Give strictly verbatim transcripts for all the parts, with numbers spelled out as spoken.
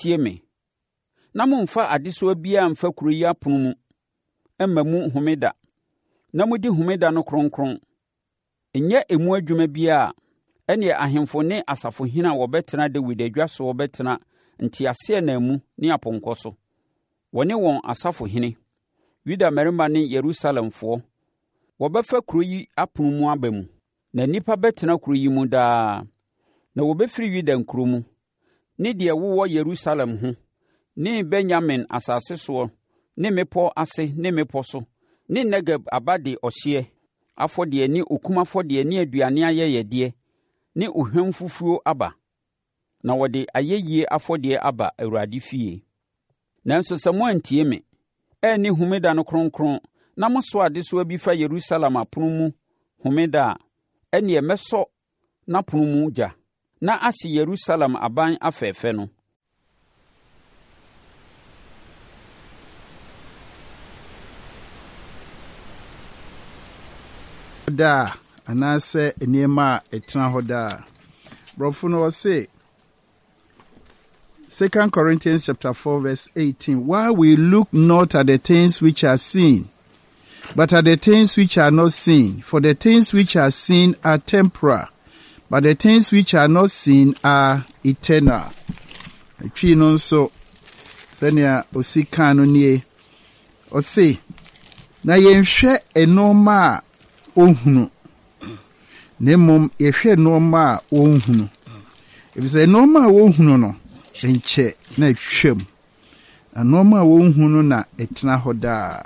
tie me, na mommfa adesoa biara mfa kuro yi apono mu mma mu Homeda, na modi Homeda no kronkron, nyɛ emu adwuma biara a, ɛnneɛ, ahemfo ne asafohene a wɔbɛtena Dawid adwa soɔ bɛtena nteaseɛnam mu ne apɔnkɔ so, wɔne wɔn asafohene, Yuda mmarima ne Yerusalemfoɔ. Wɔbɛfa kuro yi apono mu aba mu, na nnipa bɛtena kuro yi mu daa. Na wɔbɛfiri Yuda nkuro mu, ne deɛ ɛwowɔ Yerusalem ho, ne Benyamin asase soɔ ne mmepɔ ase ne mmepɔ so, ne Negeb aba de ɔhyeɛ afɔdeɛ ne okum afɔdeɛ ne aduane ayɛyɛdeɛ ne ohwamfufuo aba, na wɔde ayɛyie afɔdeɛ aba Awurade fie. Nanso sɛ moantie me, anni Homeda no kronkron na mosoa adesoa bi fa Yerusalem apono mu Homeda a, ɛnneɛ mɛsɔ n'apono mu gya na ahye Yerusalem aban afɛfɛ no. Daa anaasɛ nneɛma a ɛtena hɔ daa. Borɔfo no ɔse Second Corinthians chapter four verse eighteen, while we look not at the things which are seen, but at the things which are not seen, for the things which are seen are temporal, but the things which are not seen are eternal. Twi no nso, sɛnea osi kan no nie, ɔse, na yɛnhwɛ nneɛma a ohunu, na mmom yɛhwɛ nneɛma a wɔnhunu. Efisɛ nneɛma a wɔhunu no, nkyɛ na atwam, na nneɛma a wɔnhunu no na ɛtena hɔ daa.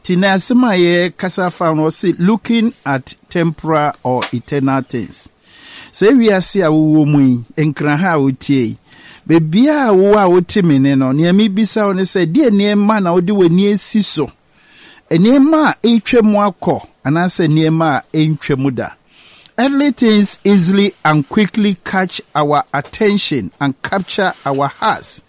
Nti na asɛm a yɛkasa fa no, ɔse looking at temporal or eternal things. Sɛ wiase a wowɔ mu yi, Nkran ha a wotie yi, beebiara a wowɔ a wote me ne no, nea mebisa wo ne sɛ, deɛ nneɛma na wode w'ani asi so? Nneɛma a ɛretwa mu akɔ anaasɛ nneɛma a ɛntwa mu da? Earthly things easily and quickly catch our attention and capture our hearts,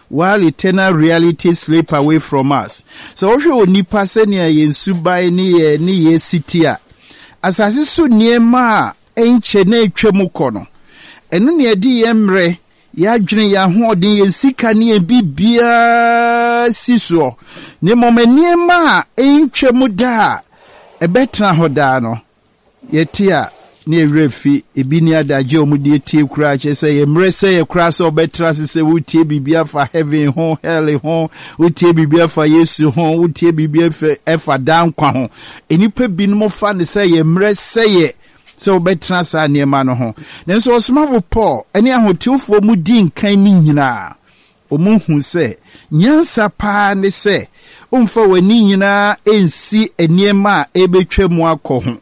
while eternal realities slip away from us. Sɛ wohwɛ onipa sɛnea yɛn suban ne yɛn ne yɛn si ti a, asase so nneɛma a ɛnkyɛ na atwa mu kɔ no, ɛno na yɛde yɛn mmerɛ, yɛadwene, yɛn ahoɔden, yɛn sika ne yɛn biribiara si soɔ. Na mmom nneɛma a ɛntwa mu da a ɛbɛtena hɔ daa no, yɛte a ne yɛwerɛ fi. Ebi ne adagye a wɔde atie koraa, kyerɛ sɛ yɛ mmerɛ sɛ yɛ koraa sɛ wɔbɛtena ase sɛ wotie biribi afa heaven ho, hell ho, wotie biribi afa Yesu ho, wotie biribi afa ɛfa daa nkwa ho. Nnipa binom fa ne sɛ yɛ mmerɛ sɛ yɛ sɛ wobɛtena saa nneɛma no ho. Nanso ɔsomafo Paul ne ahotewfoɔ mu di nkan ne nyinaa, wɔn hu sɛ nyansa paa ne sɛ womfa w'ani nyinaa nsi nneɛma a ɛbɛtwa mu akɔ ho,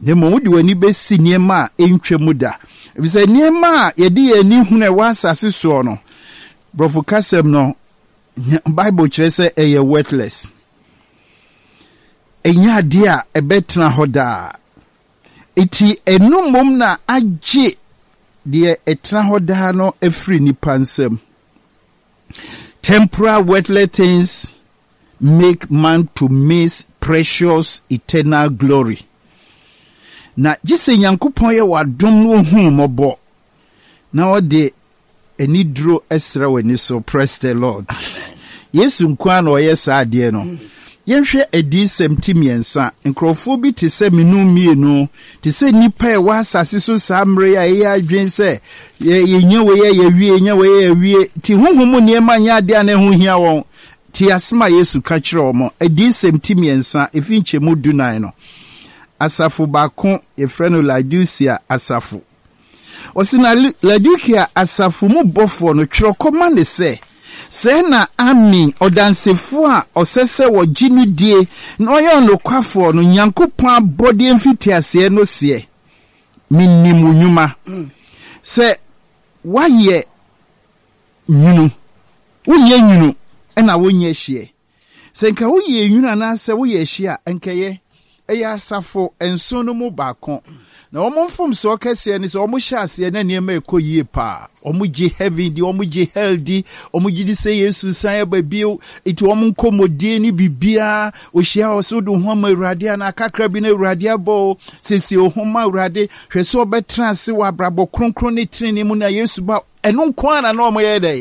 na mmom wode w'ani bɛsi nneɛma a ɛntwa mu da, efisɛ nneɛma a yɛde yɛn ani hunu a ɛwɔ asase soɔ no, borɔfo kasɛm no, Bible kyerɛ sɛ ɛyɛ worthless, ɛnyɛ adeɛ a ɛbɛtena hɔ daa. Eti ɛno mmom na agye deɛ ɛtena hɔ daa no afiri nipa nsam. Temporal worldly things make man to miss precious eternal glory. Na gye sɛ Nyankopɔn yɛ w'adom na ohu mmɔbɔ na ɔde aniduro srɛ w'ani so. Praise the Lord. Yesu nko ara na ɔyɛ saa adeɛ no. Yɛnhwɛ Adiyisɛm ti mmiɛnsa. Nkurɔfoɔ bi te sɛ menu mmienu, te sɛ nnipa a ɛwɔ asase so saa mmerɛ yi a ɛyɛ adwene sɛ yɛnya wei a yɛwie, yɛnya wei a yɛwie. Nti honhom mu nneɛma nyɛ adeɛ a na ɛho hia wɔn. Te asɛm a Yesu ka kyerɛ wɔn. Adiyisɛm ti mmiɛnsa, ɛfiri nkyɛmu dunan no. Asafo baako, yɛfrɛ no Laodicea asafo. Ɔsi na Laodicea asafo mu bɔfoɔ no, twerɛ kɔma ne sɛ, sɛɛ na Amen, ɔdansefoɔ a ɔsɛ sɛ wɔgye no die na ɔyɛ ɔnokwafoɔ no, Nyankopɔn abɔdeɛ mfitiaseɛ no seɛ, menim wo nnwuma, sɛ woayɛ nwunu, wonyɛ nwunu ɛna wonyɛ hyeɛ. Sɛ nka woyɛ nwunu anaasɛ woyɛ hye a, nkɛyɛ. Ɛyɛ asafo nson no mu baako. Na wɔn mfomsoɔ kɛseɛ ne sɛ wɔn hyɛ aseɛ na nneɛma ɛkɔ yie paa. Wɔn gye heaven di, wɔn gye hell di, wɔn gye di sɛ Yesu san aba bio. Eti wɔn nkɔmmɔdie ne biribiara, ohyia wɔ so de ho ama Awurade anaa kakra bi na Awurade abɔ o. Siesie wo ho ma Awurade, hwɛ sɛ ɔbɛtena ase wɔ abrabɔ kronkron ne tenenee mu na Yesu ba. Ɛno nko ara na na wɔn yɛ dɛ.